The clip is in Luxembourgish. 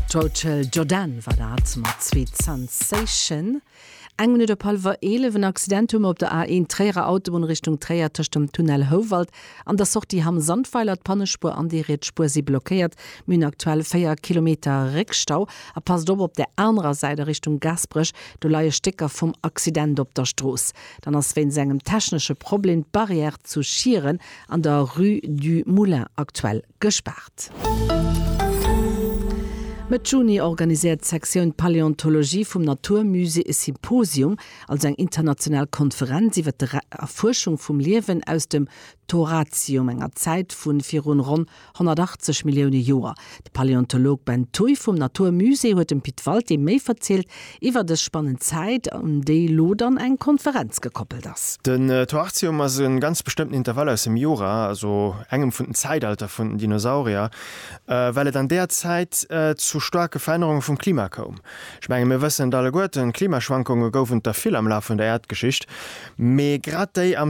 D'Rachel Jordan war dat mat Sweet Sensation. Eng Minutt op hallwer 11. En Accident hu mer op der A1 Tréierer Autobunn Richtung Tréier tëscht dem Tunnel Houwald an der Sortie Hamm-Sandweiler. D'Pannespuer an déi riets Spuer si blockéiert. Mir hunn aktuell 4 Kilometer Réckstau. A passt op, op der anerer Säit a Richtung Gaasperech, do leie Stécker vum Accident op der Strooss. Dann ass wéinst engem technesche Problem d'Barrière zu Schieren an der Rue du Moulin aktuell gespaart. Mëtt Juni organiséiert d'Sektioun Paläontologie vum 'natur musée e Symposium, also eng international Konferenz iwwer d'Erfuerschung vum Liewen aus dem Toarcium, enger Zäit vu virun ronn 180 Millioune Joer. De Paläontolog Ben Thuy vum 'natur musée huet dem Pit Walté méi verzielt iwwer dës spannend Zäit, un déi lo dann eng Konferenz gekoppelt ass. Den Toarcium ass e ganz bestëmmten Intervall aus dem Jura, also engem vun den Zäitalter vun den Dinosaurier, well et an deeër Zäit zu staarke Verännerunge vum Klima koum. Ech menge mir wëssen et alleguerten, Klimaschwankunge goufen et der vill am Laf vun der Äerdgeschicht, mee grad déi am.